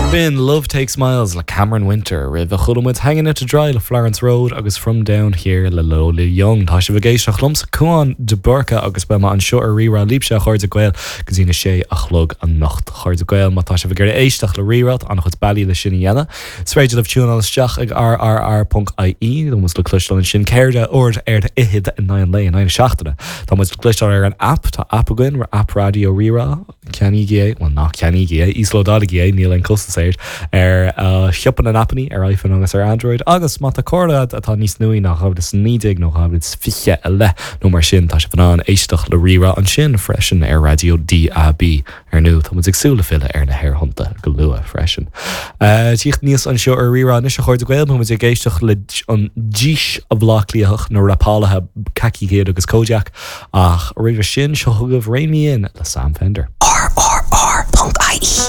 B'in Love Takes Miles le Cameron Winter. Roimhe chuala muid Hanging Out to Dry le Florence Road agus From Down Here le Lola Young. Tá sibh ag éisteacht liomsa, Cúán de Búrca, agus beidh mé anseo ar Rí-Rá libhse, a chairde Gael, go dtí na sé a chlog anocht. A chairde Gael, má tá sibh ag iarraidh éisteacht le Rí-Rá, tá an-chuid bealaí le sin a dhéanamh. Is féidir libh tiúnáil isteach ag rrr.ie, tá muid le cloisteáil ansin ceithre uair ar fhichead in aghaidh an lae, in aghaidh na seachtaine. Tá muid le cloisteáil ar an aip, tá aip againn, aip Raidió Rí-Rá. Ceannaígí é, bhuel ná ceannaígí é, íoslódálaigí é, níl aon costas air, ar shiopa na n-aipeanna, ar iPhone agus ar Android, agus má tá carr agat atá níos nuaí ná 2019 nó 2020 i leith nó mar sin, tá sibh in ann éisteacht le Rí-Rá ansin freisin ar raidió DAB. Ar ndóigh, tá muid ag súil le filleadh ar na haerthonnta go luath freisin. Tíocht aníos anseo ar Rí-Rá anois, a chairde Gael, beidh muid ag éisteacht le an dís Bhaile Átha Cliathach, na rapálaithe Khaki Kid agus Kojaque, Ach roimhe sin, seo chugaibh Rein Me In le Sam Fender. RRR.ie.